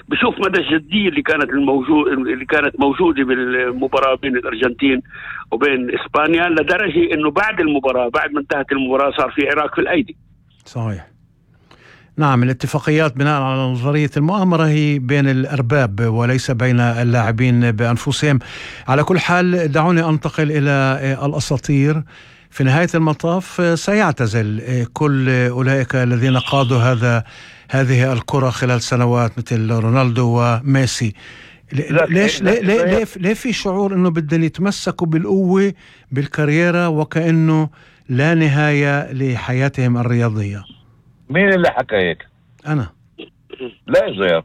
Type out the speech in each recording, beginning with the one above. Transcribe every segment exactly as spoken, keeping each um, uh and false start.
بشوف مدى الجدية اللي كانت الموجود اللي كانت موجودة بالمباراة بين الأرجنتين وبين إسبانيا، لدرجة إنه بعد المباراة بعد ما انتهت المباراة صار في عراك في الأيدي. صحيح. نعم، الاتفاقيات بناء على نظرية المؤامرة هي بين الأرباب وليس بين اللاعبين بأنفسهم. على كل حال دعوني أنتقل إلى الأساطير. في نهاية المطاف سيعتزل كل أولئك الذين قادوا هذا هذه الكرة خلال سنوات مثل رونالدو وميسي. ليش ليه ليه ليه, ليه في شعور إنه بدهم يتمسكوا بالقوة بالكاريرا وكأنه لا نهاية لحياتهم الرياضية؟ مين اللي حكى هيك؟ أنا. لا زير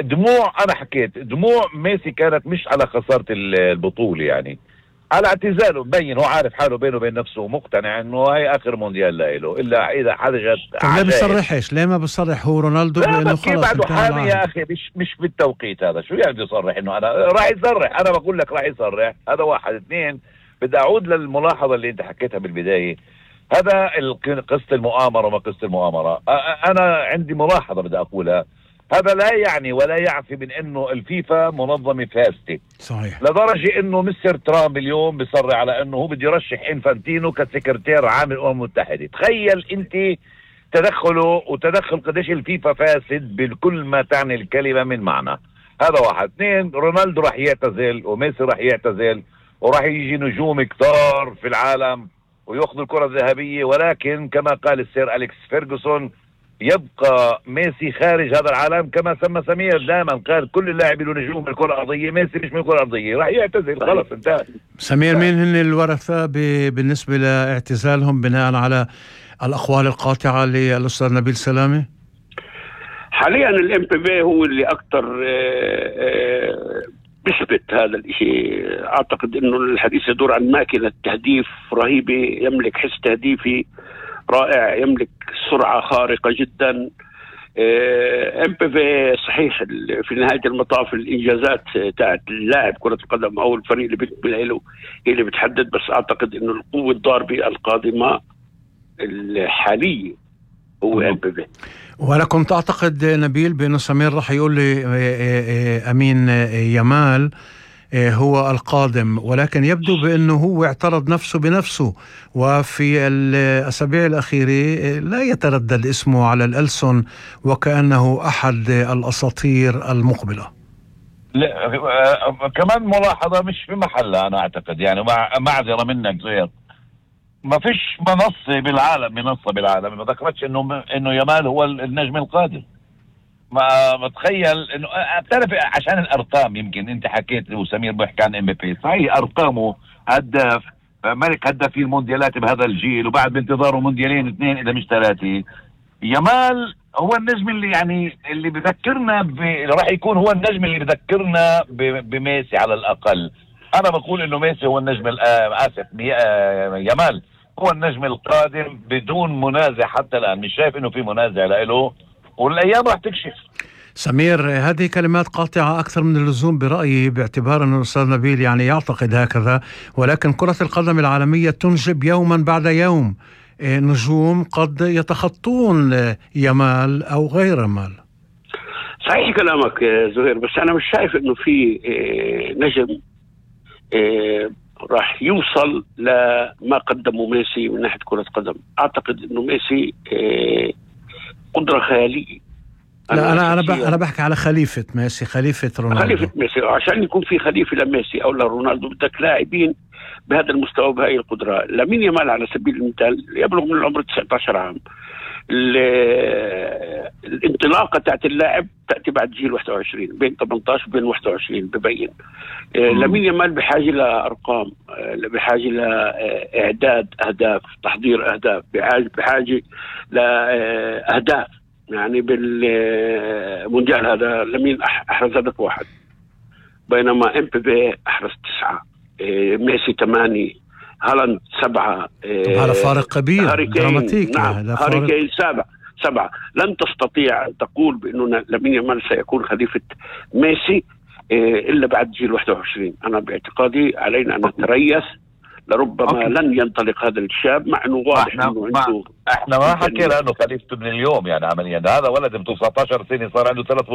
دموع. أنا حكيت دموع ميسي كانت مش على خسارة البطولة، يعني على اعتزاله. مبين هو عارف حاله بينه وبين نفسه، مقتنع انه هاي اخر مونديال له، الا اذا حدا جات. طيب ليه بيصرحش؟ ليه ما بيصرح هو رونالدو بانه خلص بعده حامي يا اخي؟ مش مش بالتوقيت هذا. شو يعني بده يصرح انه انا راح يصرح؟ انا بقول لك راح يصرح. هذا واحد. اثنين، بدي اعود للملاحظه اللي انت حكيتها بالبدايه. هذا قصه المؤامره وما قصه المؤامره. انا عندي ملاحظه بدي اقولها. هذا لا يعني ولا يعفي من انه الفيفا منظمه فاسده. صحيح. لدرجه انه مستر ترامب اليوم بيصرح على انه هو بده يرشح انفانتينو كسكرتير عام الامم المتحده. تخيل انت تدخله وتدخل قديش الفيفا فاسد بكل ما تعني الكلمه من معنى. هذا واحد. اثنين، رونالدو راح يعتزل وميسي راح يعتزل وراح يجي نجوم كتار في العالم وياخذوا الكره الذهبيه، ولكن كما قال السير أليكس فيرغسون يبقى ميسي خارج هذا العالم. كما سمى سمير دائما قال كل اللاعب له نجوم من الكره الارضيه، ميسي مش من الكره الارضيه، راح يعتزل خلص انتهى. سمير، مين هن الورثه بالنسبه لاعتزالهم بناء على الاقوال القاطعه للاستاذ نبيل سلامه؟ حاليا الام بي بي هو اللي اكثر بيثبت هذا الشيء. اعتقد انه الحديث يدور عن ماكينه تهديف رهيبه، يملك حس تهديفي رائع، يملك سرعة خارقة جدا. ام بي في صحيح في نهاية المطاف الإنجازات تاعت اللاعب كرة القدم أو الفريق اللي بيقبل له هي اللي بتحدد، بس أعتقد إنه القوة الضاربة القادمة الحالية هو ام بي في. وأنا كنت أعتقد نبيل بأنه سمير راح يقول لي أمين يامال هو القادم، ولكن يبدو بأنه هو اعترض نفسه بنفسه، وفي الأسابيع الأخيرة لا يتردد اسمه على الألسن وكأنه أحد الأساطير المقبلة. لا كمان ملاحظة مش في محلها أنا أعتقد، يعني مع معذرة منك زياد، ما فيش منصة بالعالم منصة بالعالم ما ذكرتش إنه إنه يامال هو النجم القادم. ما متخيل انه بتعرف عشان الارقام. يمكن انت حكيت وسمير بيحكي عن ام بي بي، صحيح ارقامه هداف ملك هداف المونديالات بهذا الجيل، وبعد بانتظاره مونديالين اثنين اذا مش ثلاثه. يامال هو النجم اللي يعني اللي بذكرنا ب... راح يكون هو النجم اللي بذكرنا ب... بميسي على الاقل. انا بقول انه ميسي هو النجم اسف يامال هو النجم القادم بدون منازع حتى الان. مش شايف انه في منازع له، والايام راح تكشف. سمير، هذه كلمات قاطعة أكثر من اللزوم برأيي، باعتبار أن الأستاذ نبيل يعني يعتقد هكذا، ولكن كرة القدم العالمية تنجب يوما بعد يوم نجوم قد يتخطون يامال أو غير يامال. صحيح كلامك زهير، بس أنا مش شايف أنه في نجم راح يوصل لما قدمه ميسي من ناحية كرة قدم. أعتقد أنه ميسي قدرة خيالية. لا أنا أنا أنا بحكي على خليفة ميسي، خليفة رونالدو. خليفة ميسي، عشان يكون في خليفة لميسي أو لرونالدو بدك لاعبين بهذا المستوى بهاي القدرة. لامين يامال على سبيل المثال يبلغ من العمر تسعة عشر عام. الانطلاقة تاعت اللاعب تأتي بعد جيل واحد وعشرين، بين ثمانية عشر وبين واحد وعشرين ببين. لامين يامال بحاجة لأرقام، بحاجة لإعداد أهداف، تحضير أهداف، بحاجة لأهداف. يعني بالمونديال هذا لامين أحرز هدف واحد، بينما ام بي بي أحرز تسعة، ميسي ثمانية، هالاند سبعة. هذا فارق كبير دراماتيك. نعم، هاري كين سبعة سبعة. لن تستطيع أن تقول بأنه لامين يامال سيكون خليفة ميسي إلا بعد جيل واحد وعشرين. أنا باعتقادي علينا أن نتريث، لربما أوكي. لن ينطلق هذا الشاب، مع انه واضح احنا انه ما عنده احنا ما حكينا انه خليفته من اليوم، يعني عمليا هذا ولد ب تسعة عشر سنه صار عنده ثلاث